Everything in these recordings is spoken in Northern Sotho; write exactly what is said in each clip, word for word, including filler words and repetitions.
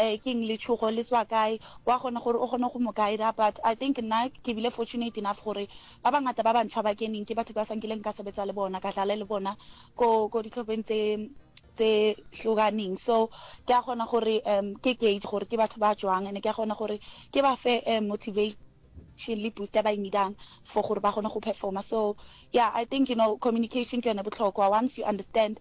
eh ke eng letshogo le tswa kae wa kgona gore o kgone go mo guide but I think nna ke bile fortunate enough gore ba bangata ba bantšha ba keneng ke batho ba sa nkileng ka sebetsa le bona ka dlala le bona ko ko ditlhopheng tse tse hlokaneng so ke a kgona gore um ke gauge gore ke batho ba jwang and ke a kgona gore ke ba fe um motivation le boost ba e needang for gore ba kgone go performa so yeah i think you know communication ke yone botlhokwa once you understand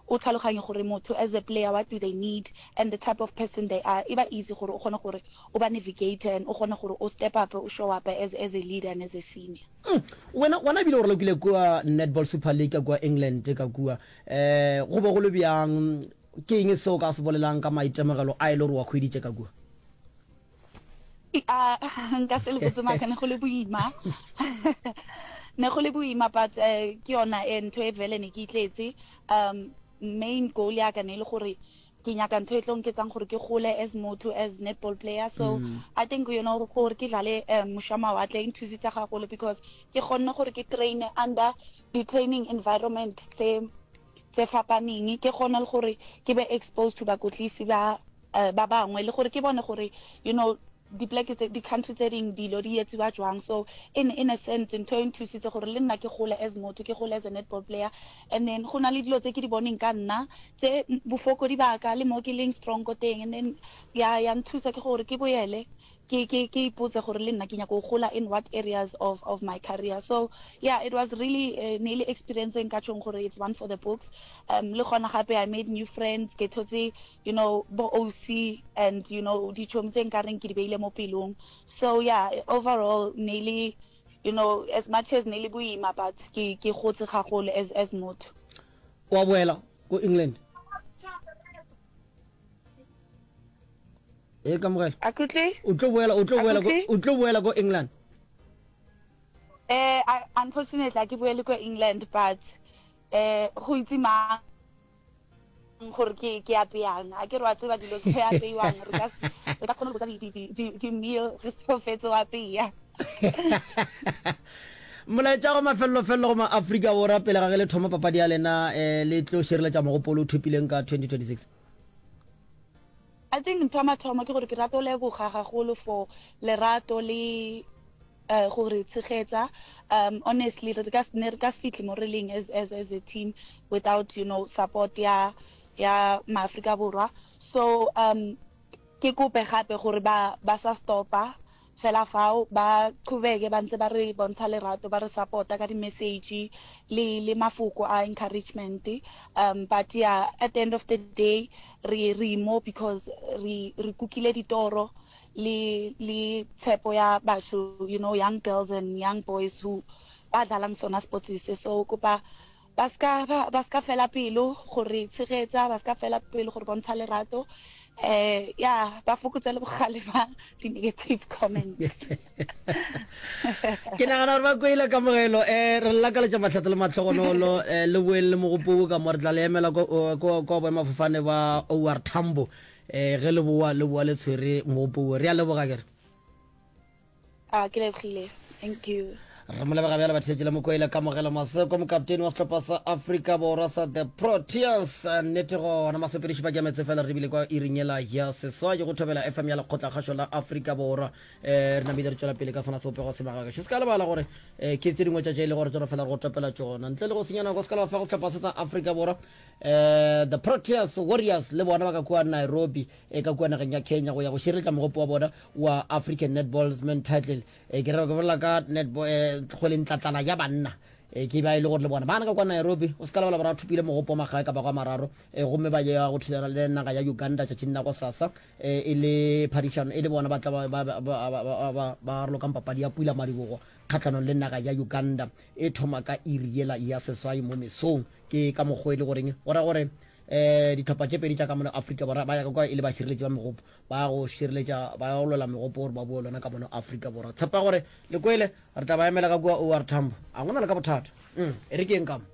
o tlhaloganye gore motho as a player what do they need and the type of person they are e ba easy gore o kgone gore o ba navigate and o kgone gore o step up o show up as, as a leader and as a senior Mm. wena wena ebile gore lokile kua netball super league ka kua england ka kua um go be go le bjang ke eng seo ka se bolelang ka maitemogelo a e le gore wa kgweditše ka kua Ah, nka se le botse maaka ne go le boima ne go le boima but eh, ke yona eh, ntho e vele ne ke itletse um main goal ya ka ne e le gore ke nyaka ntho e tlo nketsang gore ke gole as motho as netball player so Mm. i think you know gore ke dlale um moša mawatle e nthusitse gagolo because ke kgonne gore ke train under di-training environment tse tse fapaneng ke kgone le gore ke be exposed to bakotlisi ba eh, ba bangwe le gore ke bone gore you know dipleke tse di-country tse ding dilo di etsiwa jwang so in in a sense ntho e nthusitse gore le nna ke gole as motho ke gole as a netball player and then go na le dilo tse ke di boneng ka nna tse bofokodi ba ka le mo ke leng strong ko teng and then ya ya nthusa ke gore ke boele ke ke ke ipotse gore le nna ke nyaka go gola in what areas of of my career so yeah it was really uh, ne le experience e nka tjhong gore it's one for the books um le gona gape i made new friends ke thotse you know bo OC and you know ditšhomi tse nkareng ke di beile mo pelong so yeah overall ne le you know as much as ne le boima but ke ke gotse gagolo as as motho wa boela ko england e kamogelo akutlwe o tlo boela o tlo boela ko Akutlwe? o tlo boela ko england Eh, I, unfortunately, a ke boele ko England, but eh, go itse mang gore ke ke apeyang a ke re wa tseba dilo tse apeiwang re ka se re ka se kgone go botsa di- di- di- di- di-meal re so fetse o apeya molaetša go mafelelo-felelo go ma-afrika borwa pele ga ge le thoma papadi ya lena um le tlo šireletša mogopolo o thopileng ka twenty twenty-six I think ntho ya mathomo ke gore ke rata ho leboga gagolo for lerato le uh, gore tshegetsa um honestly re ka ne re ka se fitlhe mo re leng as as as a team without you know support ya ya maAfrika Borwa so um ke kope gape gore ba ba sa stopa fela fao ba qhubeke ba ntse ba re bontsha lerato ba re support-a ka di-message le le mafoko a encouragement um but yeah at the end of the day re re mo because re re kukile ditoro le le tshepo ya batho you know young girls and young boys who ba dlalang sona sports se so kopa ba ska ba ba ska fela pelo gore tshegetsa ba ska fela pelo gore bontsha lerato eh yeah ba fokotse le bogale ba di-negative comments ke nagana gore ba kwele kamogelo um re lakaletša mahlatse le matlhogonolo um le boeng le mogopobo ka mo re tla le emela ko boemafofane ba or tambo um ge le boa le boa le tshwere mogopobo re a leboga kere ah ke lebogile thank you re mo leboga bjale batheetši le mokoile kamogelo maseko mokaptene wa sehlopha sa afrika borwa sa the proteas nnete gona masopediši ba kemetse fela re bile kwa iring yela ya seswai go thobela fm ya lekgotlakgašo la afrika borwa um re namile re tšwela pele ka sona sebopego se magakašo se ka lebala gore um ke tse dingwe tša tše e le gore tsona fela re go topela tšona ntle le go senya nako se ka leba fa go sehlopha se sa afrika borwa um the proteas warriors le bona ba ka kua nairobi e ka kua nageng ya kenya go ya go šireletša mogopo wa bona wa african netball men title e ke re ke bolela ka netball eh, kgwele ntlatlana ya banna e ke ba e le gore le bona bana ka kwa nairobi o se ka lebala ba thopile mogopo wa magae ka ba kwa mararo e gomme ba ya go thulana le naga ya uganda tšatšing la go sasa e e le phadišano e le bona ba tla ba- ba- ba- ba- ba- ba- ba ralokang papadi ya pula madibogo kgatlhanong le naga ya uganda e thoma ka iri yela ya seswai mo mesong ke ka mokgwa e le goreng go ra gore um ditlhopha tše pedi tša ka mono afrika borwa ba ya ka kwa e le bašireletši ba megopo ba go šireletša ba go lwela megopo gore ba boe lona ka mono afrika borwa tshepa gore le kwele re tla ba emela ka kua or tambo a gona le ka bothata mm, e re ke eng ka mo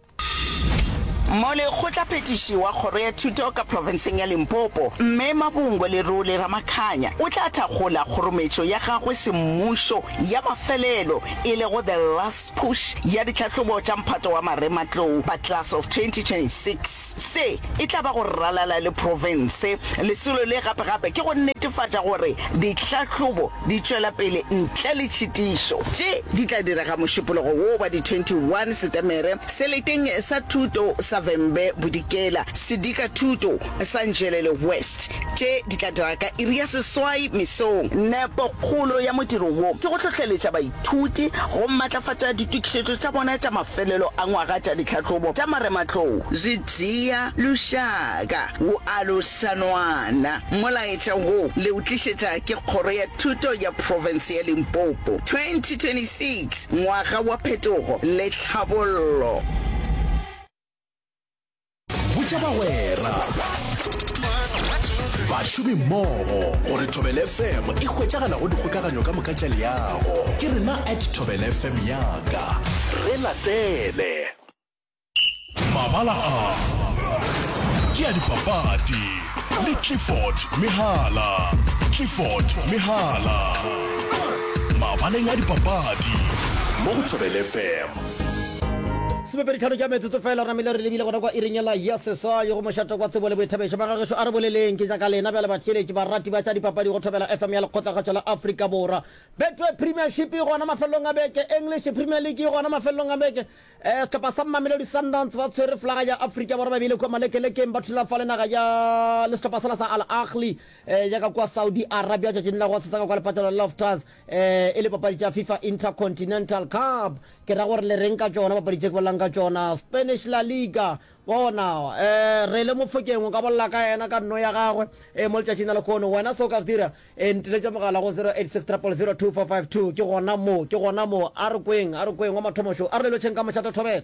Molekgotlaphethiši wa Kgoro ya Thuto ka profenseng ya Limpopo, Mme Mabungwe Lerole Ramakhanya, o tla thakgola kgorometšo ya gagwe semmušo ya mafelelo e lego The Last Push ya ditlhahlobo tša mphato wa marematlou ba Class of twenty twenty six. Se e tla ba go ralala le profense. Lesolo le gape-gape ke go netefatša gore ditlhahlobo di tšwela pele ntle le tšhitišo. Tše di tla direga Mošupologo wo wa di twenty one Setemere seleteng sa thuto sa Vhembe Bodikela, Sedika Thuto sa Nzhelele West. Tše di tla direga ka iri ya seswai mesong. Nepokgolo ya modiro wo ke go hlohleletša baithuti go matlafatša ditokišetšo tša bona tša mafelelo a ngwaga tša ditlhahlobo tša marematlou. Zwi dzhia lushaka wu alusa nwana. Molaetša wo le o tlišetša ke Kgoro ya Thuto ya Profense ya Limpopo. twenty twenty six Ngwaga wa Phetogo le Tlhabollo. Botša bagwera, bašomimmogo gore Thobela F M e hwetšagala go dikgokaganyo ka moka tša leago. Ke rena at Thobela F M yaka. Re latele. Mabala a ke a dipapadi le Clifford Mehala. Clifford Mehala. Mabaleng a dipapadi mo go Thobela F M. Somepedi tlhano tša metsotso fela re namile re lebile gona kwa iring yela ya seswai go mošate kwa tsebo le boithabišo. Magagešo a re boleleng ke nyaka lena bjale batheeletši barati ba tša dipapadi go Thobela F M ya Lekgotlakgatšo la Afrika Borwa. Betway Premiership e gona mafelelong a beke, English Premier League e gona mafelelong a beke. Eh, sehlopha sa Mamelodi Sundowns ba tshwere flaga ya Afrika Borwa ba beile kua malekelekeng ba thula fa le naga ya le sehlopha sela sa Al Ahly eh, ya ka kua Saudi Arabia tšatšing la go sesa ka kwa lepatlelo la Loftus eh, e le papadi tša FIFA Intercontinental Cup. Ke ra gore le reng ka tšona papadi tše ke bolelang ka tšona. Spanish La Liga bona eh, re le Mofokeng o ka bolela ka yena ka nno ya gagwe eh, mo letšatšing la lehono. Wena se o ka se dira eh, nteletša mogala go zero eight six triple zero two four five two. Ke gona mo, ke gona mo. A re kweng, a re kweng wa mathomo šo. A re le lotšheng ka mošate Thobela.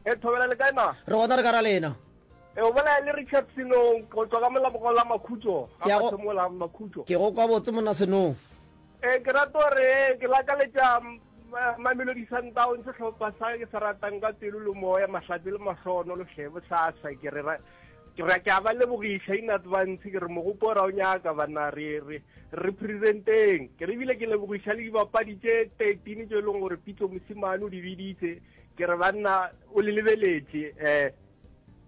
E Thobela le kae ma? Re gona re ka ra lena. E o bolela le Richard Senong go tswa ka molabogo la Makhutšo, Ke a go- ga mathomo la Makhutšo. Ke go kwa botse monna Senong. E ke rata gore ke lakaletša Mamelodi Sundowns sehlopha sa ke se ratang ka pelo le moya, mahlatse le mahlono le hlebo sasa. Ke re ra-, ke re ke a ba lebogiša in advance, ke re mogopo ra o nyaka bana re, re representeng. Ke re ebile ke lebogiša le dibapadi tše thirteen tše e leng gore Pitso Mosimane o di biditse. Ke re banna o le lebeletše, eh,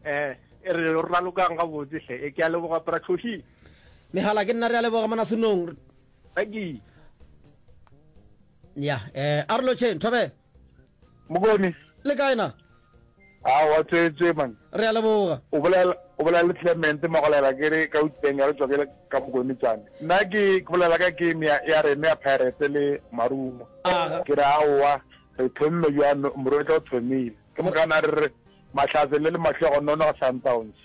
eh, e re re ralokang gabotse hle. E ke a leboga Pratlhoshi. Mehala ke nna re a leboga mona Senong. Thank you. Ya, eh, a re lotšheng, Thobela. Mokone. Le kae na? A wa tswetswe man. Re a leboga. O bolela, o bolela le Clement Magolela ke re ka Utleng ya re tswa ke le ka Mokone tsane. Nna ke, ke bolela ka game ya, ya rena ya Pirates le Marumo. Aga. Ke re aowa, re thomme bjang, Morwetla o thomile. Ke mokana re re Mahlatse le le mahlogonono ga Sundowns.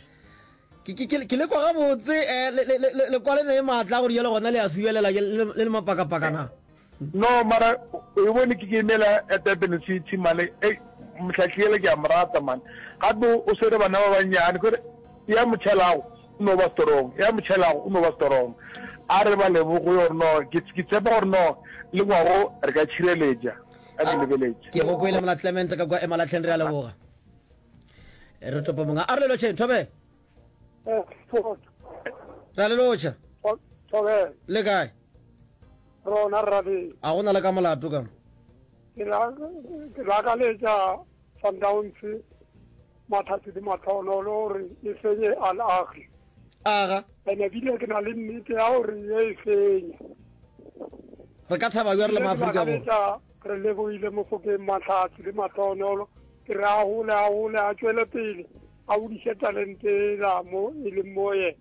Ke, ke, ke, ke le kwa gabotse, eh, le, le, le, le kwa le ne maatla gore jalo gona le a subelela, le, le, le le mapakapaka na? No, mara o e bone ke game ela ya Durban City mane, ei, mohlahli ele ke a mo rata man. Gape o swere bana ba bannyane, kore ya motšhelago o no ba strong, ya motšhelago o no ba strong. A re ba leboge gore no, ke, ke tshepa gore no le ngwago re ka tšhireletša, a ke lebeletše. Ke go kwele mona Clement ka kwa Emalahleng, re a leboga. Re topa monga. A re le lotšheng, Thobela. Eh, Re a le lotšha. Thobela. Le kae? Rona rrabe. A gona le ka molato ka? Ke la, ke lakaletša Sundowns mathati le matlhono le gore e fenye Al Ahly. Aga. Ene bile ke na le nnete ya gore e e fenya. Re ka thaba bjang re le Ke Maafrika Borwa? lakaletša re lebohile Mofokeng Mahlatse le matlhono, ke re a gole, a gole, a tšwele pele, a godiše talente ela mo e leng mo yena.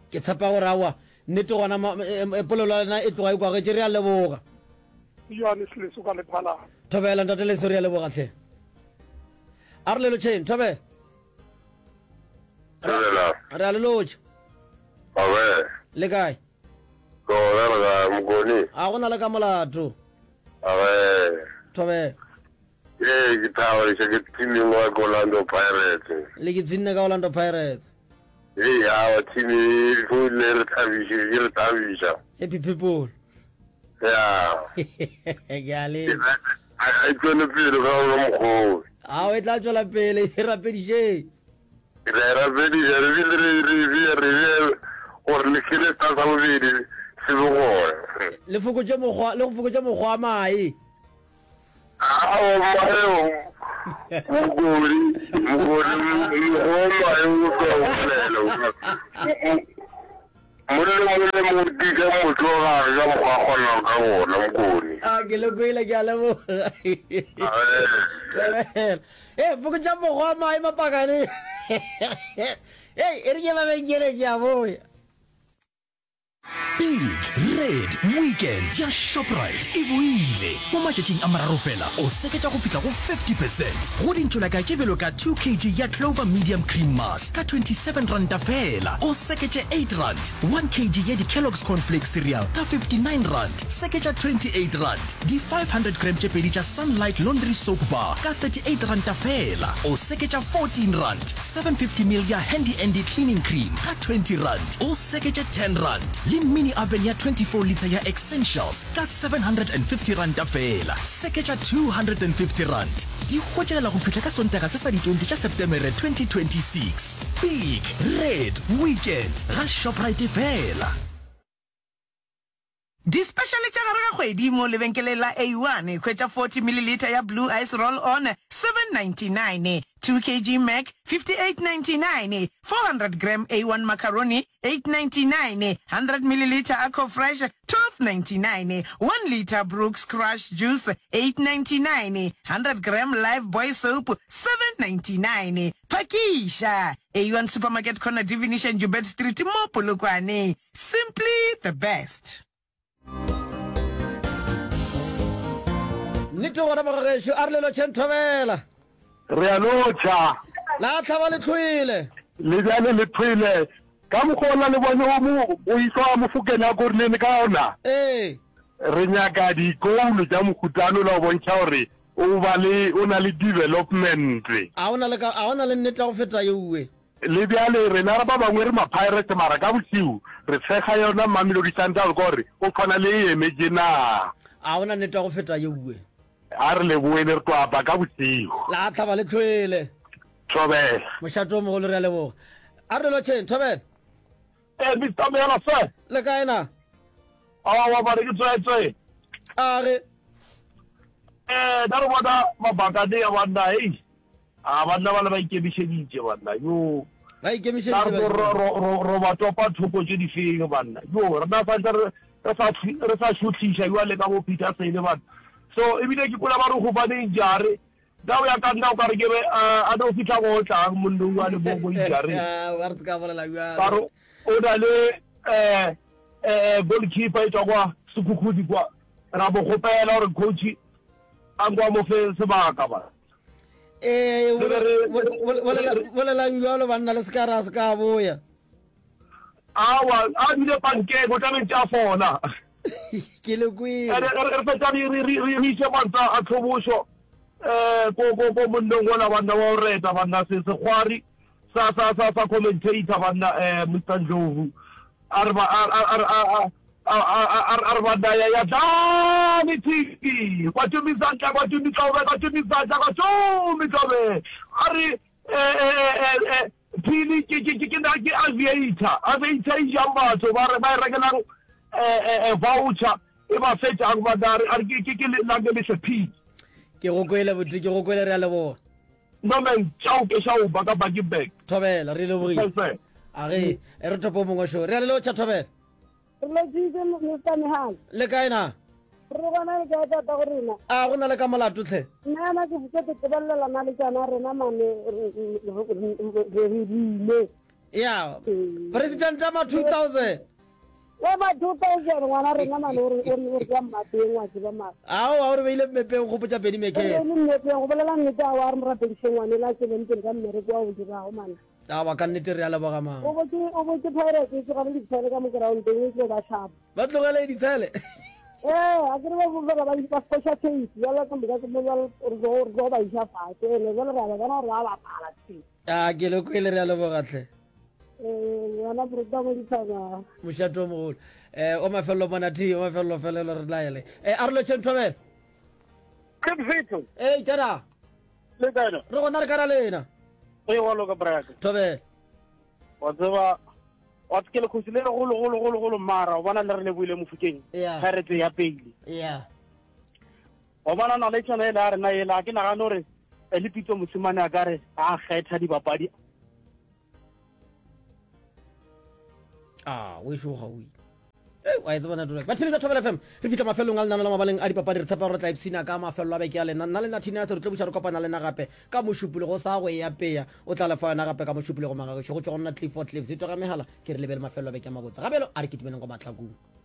Ke tshepa gore aowa nnete gona ma-, e, e, polelo ya lena e tloga e kwagetše, re a leboga. Johannes Leso ka Lephalale. Thobela ntate Leso, re a leboga tlhe. A re le lotšheng, Thobela. Thobela. Re a le lotšha. Awe. Le kae? Ke gona le kae, Mokone? A gona le ka molato. Awe. Thobela. Ee, ke thabiša ke teaming wa ke Orlando Pirates. Le ke tsinne ka Orlando Pirates. Ee, awa, team e tlo le re thabiše, e re thabiša. Happy people. Ya. Ke a le. A e tswele pele ka ona mokgwa. Ao e tla tšwela pele e rapedišeng. Re a e rapediša re bile re re bea re bea gore le sele sa sa bobedi se be gona. Le fokotše mokgwa le go fokotše mokgwa wa mae. Aowa mae mokodi mokodi mokgwa wa mae o tlo bolela. Monna mole mo tika motho wa gage ka mokgwa a kgonago ka gona, Mokone. A ke le kwele, ke a leboga. Thobela. Ee, fokotša mokgwa wa mae mapakane. Hei, e re ke mabenkeleng ke a boya. Big Red Weekend ya Shoprite e boile! Mo matšatšing a mararo fela, o seketša go fihla go fifty percent go dintšolaka tše bjalo ka two kg ya Clover Medium Cream Mass ka twenty-seven ranta fela, o seketše eight rand, one kg ya di-Kellogg's Corn Flakes Cereal ka fifty-nine rand, seketša twenty-eight rand, di five hundred gram tše pedi tša Sunlight Laundry Soap Bar ka thirty-eight ranta fela, o seketša fourteen rand, seven fifty ml ya Handy Andy Cleaning Cream ka twenty rand, o seketše ten rand, le mini oven ya twenty-four litre ya Essentials ka seven hundred and fifty ranta feela, seketša two hundred and fifty rand. Di hwetšagala go fihla ka Sontaga se sa di twenty tša Sepetemere twenty twenty-six. Big Red Weekend ga Shoprite feela. Dispešale tša gare ga kgwedi mo lebenkeleng la A one, hwetša forty milliliter ya Blue Ice Roll On, seven ninety-nine, two kg Mac, fifty-eight ninety-nine, four hundred gram A one Macaroni, eight ninety-nine, hundred milliliter Aqua Fresh, twelve ninety-nine, one litre Brooks Crush Juice, eight ninety-nine, hundred gram Lifebuoy Soap, seven ninety-nine. Phakiša! A one Supermarket Corner Divination Joubert Street mo Polokwane. Simply the best. Nnete gona mogagešo, a re le lotšheng thobela. Re a lotšha. La hlaba le tlhwele. Le bjale le thwele. Ka mokgwa ola le bone o mo o išwa Mofokeng a korilene ka ona. Ee. Re nyaka dikoulo tša mohutano la go bontšha gore o ba le o na le development. A o na le ka a o na le nnete ya go feta yeuwe. Le bjale rena ba bangwe re ma-pirates mara ka bošego re tshega yona Mamelodi Sundowns ka gore o tshwana le e emetše na. A o na nnete ya go feta yeuwe. A re leboele re tlo apa ka bošego. La hlaba le tlhwele. Thobela. Mošate o mogolo re a leboga. A re lotšheng, Thobela. Eh, Mister Meyala sir. Le kae na? Aowa mare ke tswetswe. A re. Eh, ka re bona mabakane ya banna, hei. A banna ba le ba ikemišeditše banna, yo. Ba ikemišeditše. Ka re ro ro ro ba topa thoko tše di feng banna. Yo, rena sa ntse re re sa re sa šohliša jwale ka bo Peter Sele banna. So ebile ke kwela ba re gobane injare Ka go ya ka nna o ka re ke be a no fihla go otlang monnong wa le mo mo injareng. Wa re ka bolela bjalo. Ka re o na le eh eh goalkeeper e tswa kwa Sekhukhuni kwa. Ra mo kgopela gore coach a nko a mo fe sebaka ba. Ee, bolelang bjalo banna le se ka ra se ka boya. Awa, a dule pankeng, o tla be ntše a fola. Ke le kwele. Ene re re fetša re re re re iše mantswe a tlhobošo eh ko ko ko monneng wola banna wa go reta banna se sekgwari sa sa sa sa commentator banna eh Mister Ndlovu a re ba a a a a a a a re banna ya ya dlane T V kwa tumi zandla kwa tumi tlobe kwa tumi zandla kwa tumi tlobe a re eh eh eh eh Phili ke ke ke ke na ke aviator aviator e jang batho ba re ba e rekelang eh eh voucher e ba fetšang ba a re a re ke ke ke lange lehle Phili. Ke go kwele buti ke go kwele re a leboga. No man tšao ke šao ba ka Bakenberg. Thobela re lebogile. A ge e re thopo mongwe šo re a le lotšha Thobela. Re lotšitše Mister Mehal. Le kae na? Re gona le kae tata go rena? A go na le ka molato tlhe. Nna yana ke ke te tebelela na le tšana rena mane re re rile. Ya. President ma two thousand. Wa ma two thousand ngwana rena mane o re o re o re ka mmapeng wa tseba mara. Ao a o re beile mmepeng gopotša Benny McKay. Re beile mmepeng go bolela nnete a wa re mo rapediše ngwane la tšweleng pele ka mmereko wa o dirago mane. Aowa ka nnete re a leboga mama. O botše o botše Pirates e tlogele ditshele ka mo groundeng e tlo ba hlapa. Ba tlogele ditshele. Ee, a ke re ba fela ba ba foša tape bjale ka moka mo bjale re tlo re tlo ba iša fatshe ene bjale re a ba bona gore ba bapala tse. A ke le kwele re a leboga tlhe. Ee, yona Brota mo dithabeng. Mošate o mogolo. Eh o mafelelo monati o mafelelo felelo re laele. Eh a re lotšheng Thobela. Ke Mfetho. Ee tada. Le kae na? Re gona re ka ra lena. Ee, wa loka braka. Thobela. Wa tseba wa ke lekgosi le golo golo golo golo mara o bona le re leboile mofokeng. Yeah. Pirates ya pele. Yeah. Wa bona na le tšona ele a rena ela ke nagane gore eh, le Pitso Mosimane a ka re a kgetha dibapadi a o ešo ga o ile wa e tseba network batheletša Thobela FM re fihla mafelong a lenano la mabaleng a dipapadi re tshepa gore re tla ipshina ka mafelelo a beke ya lena nna le nna Thina re tlo buša re kopana le na gape ka mošupologo sa go e apea o tla lefa yona gape ka mošupologo magagešo go tšwa go nna Clifford Cliff zito ga megala ke re lebele mafelelo a beke a mabotse gabjalo a re kitimeleng go mahlakong.